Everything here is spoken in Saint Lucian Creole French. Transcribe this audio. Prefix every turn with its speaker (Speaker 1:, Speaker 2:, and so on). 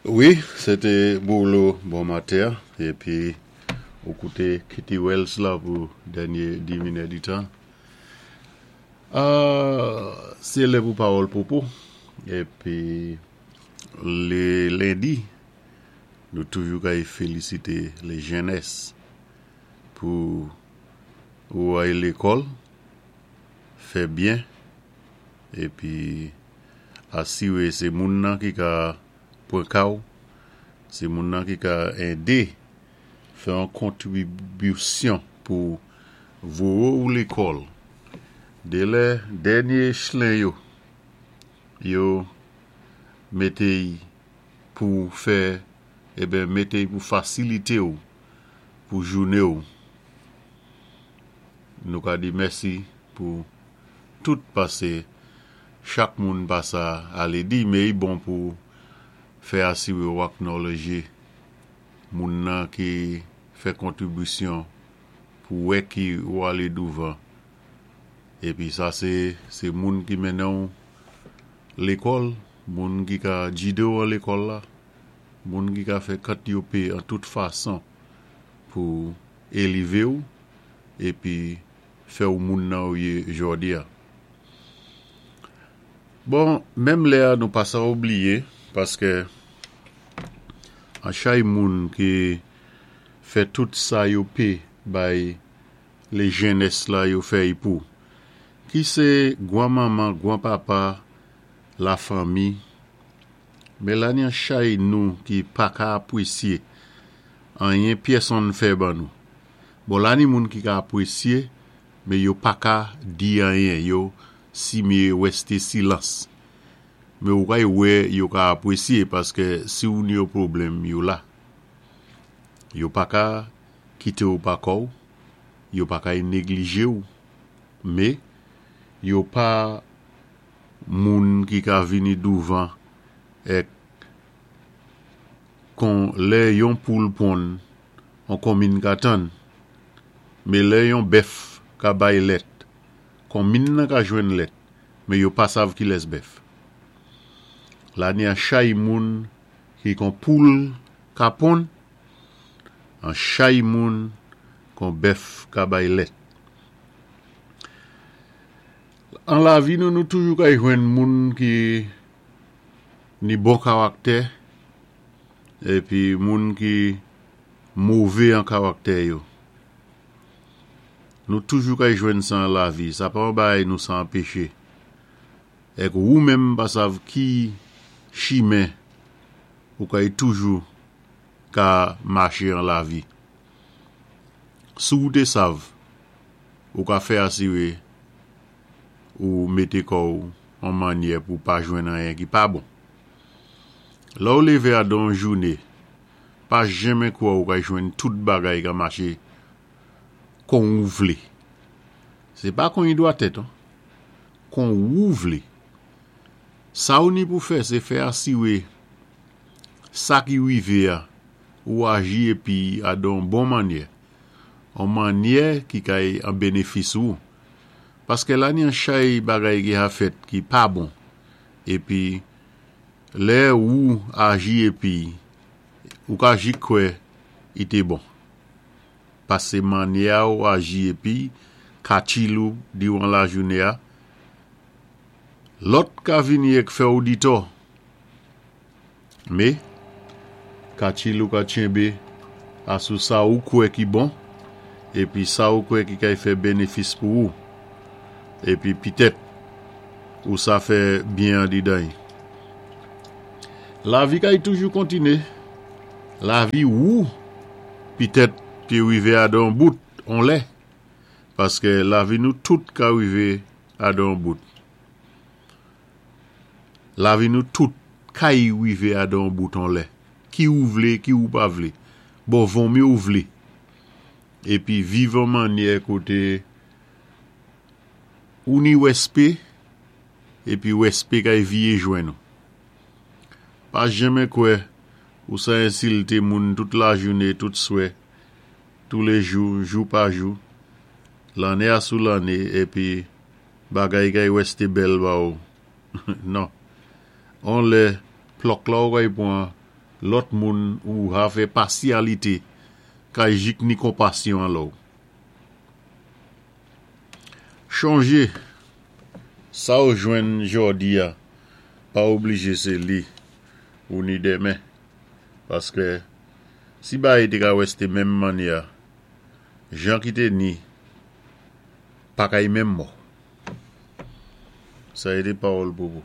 Speaker 1: Wi, sé té Bolo bon maten épi ou kouté Kitty Wells la pou dènyé di minèditan. Sé lè pou Pawòl Popo épi lé lendi nou toujou kay félisité lé jènès pou ou ay lékòl fè byen épi asiré sé moun nan ki ka pran ka ou, sé moun nan ki ka édé fè yon kontribisyon pou voyé ou lékòl. Dé lè dènyé chlen yo, yo mété y pou fè, eben mété y pou fasilité ou pou jouné ou. Nou ka di mèsi pou tout pasé chak moun pa sa alé di, mé i bon pou fè asiré ou acknowledge moun nan ki fè kontribisyon pou wè ki ou alé douvan. Épi sa sé sé moun ki mennen ou lékòl, moun ki ka jidé ou an lékòl la, moun ki ka fè kant yo pé an tout fason pou élivé ou épi fè ou moun nan ou yé jòdi a. Bon, menm lè a nou pa sa oubliyé paskè an chay moun ki fè tout sa yo pé bay lé jènès la yo fè y pou, ki sé gwan manman, gwan papa, la fanmi, men la ni an chay nou ki pa ka apwésyé anyen pyèsonn fè ban nou. Bon la ni moun ki ka apwésyé men yo pa ka di anyen, yo si myé wèsté silans. Men ou kay wè yo ka apwésyé paskè si ou ni yon pwoblèm yo la. Yo pa ka kité ou pa kò ou, yo pa kay néglijé ou, mé yo pa moun ki ka vini douvan èk kon lè yon poul ponn on konmin ka tann, mé lè yon bèf ka bay lèt, konmin nan ka jwenn lèt, mé yo pa sav kilès bèf. La ni an chay moun ki kon poul ka ponn, an chay moun kon bèf ka bay lèt. An lavi nou, nou toujou kay jwenn moun ki ni bon karaktè épi moun ki mové an karaktè yo. Nou toujou kay jwenn sa an lavi, sa pa yon bagay nou sa anpeché. Èk wou menm pa sav ki chimen ou kay toujou ka maché an lavi. Si ou té sav, ou ka fè asiré ou mété kò ou an mannyè pou pa jwenn anyen ki pa bon. Lè ou lévé a dan yon jouné, pa janmen kwè ou kay jwenn tout bagay ka maché kon ou vlé. Sé pa kon i dwa tèt an, kon ou vlé. Sa ou ni pou fè, sé fè asiré sa ki wivé a, ou aji épi a dan yon bon mannyè, on mannyè ki kay an bénéfis ou. Paskè la ni an chay bagay ki ha fèt ki pa bon, épi lè ou aji épi ou ka jis kwè i té bon. Pasé mannyè a ou aji épi katchil ou diwan lajouné a, lòt ka vini èk fè ou ditò. Mé, katchil ou ka tchenbé asou sa ou kwè ki bon, épi sa ou kwè ki kay fè bénéfis pou ou, épi pitèt ou sa fè byen andidan y. Lavi kay toujou kontiné, lavi wou pitèt té wivé adan on bout on lè, paskè lavi nou tout ka wivé adan on bout. Lavi nou tout kay wivé adan on bout on lè, ki ou vlé, ki ou pa vlé, bon vonmi ou vlé, épi viv an mannyè koté ou ni wèspé, épi wèspé kay viyé jwenn ou. Pa janmen kwè ou sa ensilté moun tout lajouné, tout swè, toulé jou, jou pa jou, lanné asou lanné, épi bagay kay wèsté bèl ba ou. Non. On lè, plòk la ou kay pwan. Lòt moun ou ha fè pasyalité kay jik ni konpasyon an lò-w. Chonjé, sa ou jwenn jòdi-a pa oblijé sé li ou ni denmen, paskè si bagay té ka wèsté menm mannyè, jan ki té ni pa kay menm mò. Sa é té pawòl Popo.